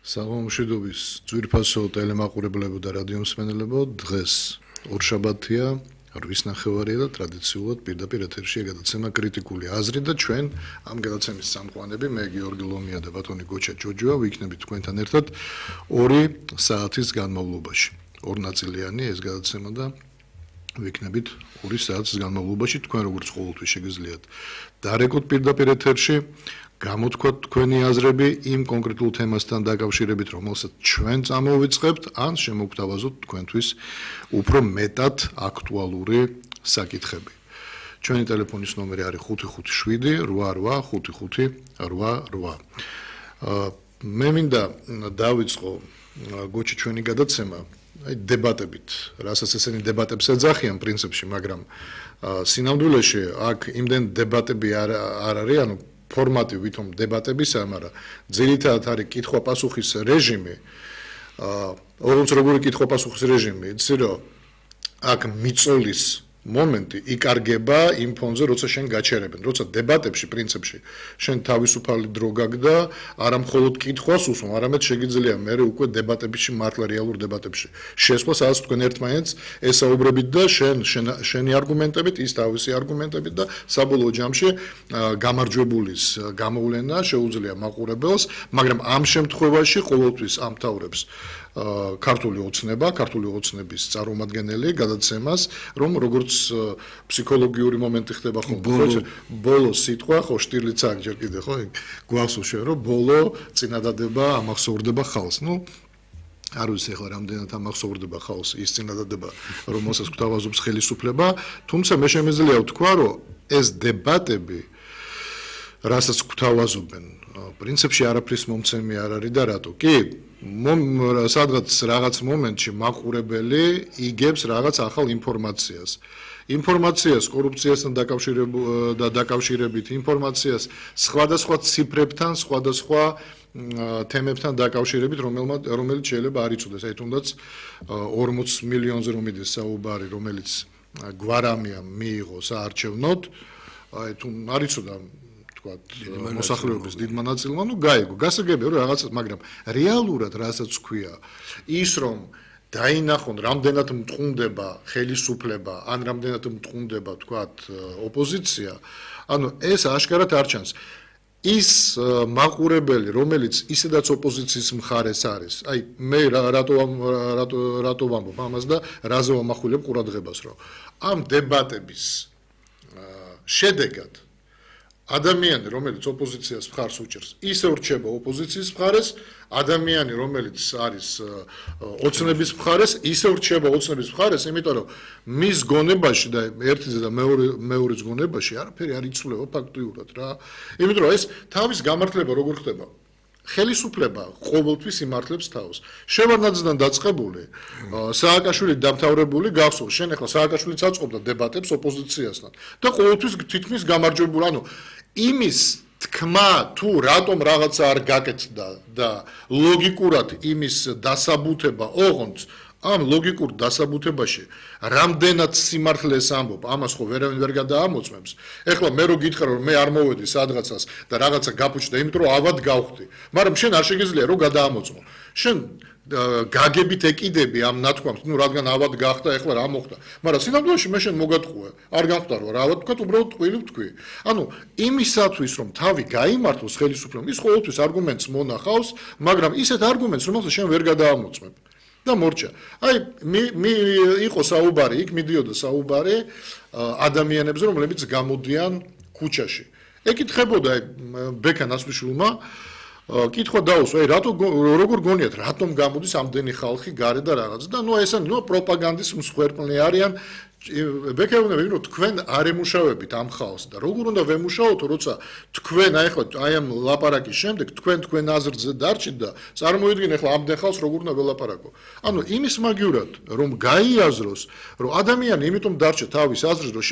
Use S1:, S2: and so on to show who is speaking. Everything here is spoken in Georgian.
S1: საღამომშვიდობის ძვირფასო ტელემაყურებლებო და რადიომსმენელებო, დღეს ორშაბათია, 8:30 და ტრადიციულად პირდაპირ ეთერშია გადაცემა კრიტიკული აზრი და ჩვენ ამ გადაცემის სამყაროები მე გიორგი ლომია და ბატონი გოჩა ჯოჯოა ვიქნებით თქვენთან ერთად 2 საათის განმავლობაში. ორ ნაწილიანი ეს გადაცემა და ვიქნებით 2 საათის განმავლობაში თქვენ როგორც ყოველთვის შეგიძლიათ დარეკოთ პირდაპირ ეთერში გამოთქვათ თქვენი აზრები იმ კონკრეტულ თემასთან დაკავშირებით, რომელსაც ჩვენ წამოვიწყებთ, ან შემოგთავაზოთ თქვენთვის უფრო მეტად აქტუალური საკითხები. ჩვენი ტელეფონის ნომერი არის 557 88 მე მინდა დავიწყო გოჩი ჩვენი გადაცემა დებატებით, რასაც ესენი დებატებს ეძახიან პრინციპში, მაგრამ სინამდვილეში აქ იმდენ დებატები არ არის, ანუ ფორმატი ვითომ დებატებისა, მაგრამ ძირითადად არის კითხვა-პასუხის რეჟიმი. როგორი კითხვა-პასუხის რეჟიმი, იცი რომ აქ მიწოლის მომენტი იკარგება იმ ფონზე, როცა შენ გაჩერებენ, როცა დებატებში პრინციპში შენ თავისუფალი დრო გაქვს, არა მხოლოდ კითხვას უსვამ, არამედ შეგიძლია მე უკვე დებატებში მართლა რეალურ დებატებში შესვლა, სადაც თქვენ ერთმანეთს ესაუბრებით და შენი არგუმენტებით, ის თავისი არგუმენტებით და საბოლოო ჯამში გამარჯვებულის გამოვლენა შეუძლია მაყურებელს, მაგრამ ამ შემთხვევაში ყოველთვის ამთავრებს ქართული ოცნება, ქართული ოცნების წარმომადგენელი გადაცემას, რომ როგორც ფსიქოლოგიური მომენტი ხდება ხოლმე, ბოლო სიტყვა, ხო, შტირლიც აქ ჯერ კიდე, ხო, გვახსოვს შენ, რომ ბოლო წინადადება ამახსოვრდება ხალხს. არ ვიცი ახლა რამდენად ამახსოვრდება ხალხს ის წინადადება, რომელსაც გვთავაზობს ხელისუფლება, თუმცა მე შემიძლია ვთქვა, რომ ეს დებატები, რასაც გვთავაზობენ, პრინციპში არაფრის მომცემი არ არის და რატო? კი, სადღაც რაღაც მომენტში მაყურებელი იგებს რაღაც ახალ ინფორმაციას. ინფორმაციას კორუფციასთან დაკავშირებით, ინფორმაციას სხვადასხვა ციფრებთან, სხვადასხვა თემებთან დაკავშირებით, რომელიც შეიძლება არ იცოდეს. აი თუნდაც 40 მილიონზე რომ მიდის საუბარი, რომელიც გვარამიამ მიიღო საარჩევნოდ, აი თუ არ იცოდა მოსახლეობის დიდმა ნაწილმა, გაიგო, გასაგებია რომ რაღაცა, მაგრამ რეალურად რასაც ქვია, ის რომ დაინახონ რამდენად მტყუნდება ხელისუფლება, ან რამდენად მტყუნდება, თქვათ, ოპოზიცია, ანუ ეს აშკარად არ ჩანს. ის მაყურებელი, რომელიც ისედაც ოპოზიციის მხარეს არის, აი მე რატო ვამბობ ამას და რაზე ვამახვილებ ყურადღებას, რომ ამ დებატების შედეგად ადამიანი, რომელიც ოპოზიციას მხარს უჭერს, ისე ვრჩება ოპოზიციის მხარეს, ადამიანი, რომელიც არის ოცნების მხარეს, ისე ვრჩება ოცნების მხარეს, იმიტომ რომ მის გონებაში და ერთზე და მეორეს გონებაში არაფერი არ იცვლება ფაქტიურად რა. იმიტომ რომ ეს თავის გამართლება როგორ ხდება? ხელისუფლება ყოველთვის იმართლებს თავს. შევარდნაძიდან დაწყებული, სააკაშვილი დამთავრებული გახსოვს, შენ ახლა სააკაშვილიც აწყობდა დებატებს ოპოზიციასთან და ყოველთვის თითქმის გამარჯვებული, ანუ იმის თქმა თუ რატომ რაღაცა არ გაკეთდა და ლოგიკურად იმის დასაბუთება ოღონდ ამ ლოგიკურ დასაბუთებაში რამდენად სიმართლეს ამბობ, ამას ხო ვერავინ ვერ გადაამოწმებს. ეხლა მე რო გითხრა რომ მე არ მოვედი სადღაცას და რაღაცა გაფუჭდა, იმიტომ რომ ავად გავხდი, მაგრამ შენ არ შეგიძლია რომ გადაამოწმო. შენ გაგებით ეკიდები ამ ნათქვამს, რადგან ავად გახდა, ეხლა რა მოხდა. მაგრამ სინამდვილეში მე შენ მოგატყუე, არ გამხდარო რა, ავად თქვა, უბრალოდ ტყვილი ვთქვი. ანუ იმისათვის რომ თავი გაიმართოს ხელისუფლებამ, ის ყოველთვის არგუმენტს მონახავს, მაგრამ ისეთ არგუმენტს, რომელსაც შენ ვერ გადაამოწმებ. და მორჩა. აი იყო საუბარი, იქ მიდიოდა საუბარი ადამიანებზე, რომლებიც გამოდიან ქუჩაში. ეკითხებოდა ბექა ნაცვლიშვილმა კითხვა დაუსვა, აი როგორ გონიათ, რატომ გამოდის ამდენი ხალხი გარე და რაღაც და ესენი პროპაგანდის მსხვერპლნი არიან. ბექა უნდა ვიგნო, თქვენ არ ემუშავებით ამ ხალხს და როგორ უნდა ვემუშაოთო, როცა თქვენ აი ამ ლაპარაკის შემდეგ თქვენ აზრზე დარჩით და წარმოიდგინე ახლა ამდენ ხალხს როგორ უნდა ველაპარაკო. ანუ იმის მაგივრად რომ გაიაზროს, რომ ადამიანი იმიტომ დარჩა თავის აზრზე, რომ შენ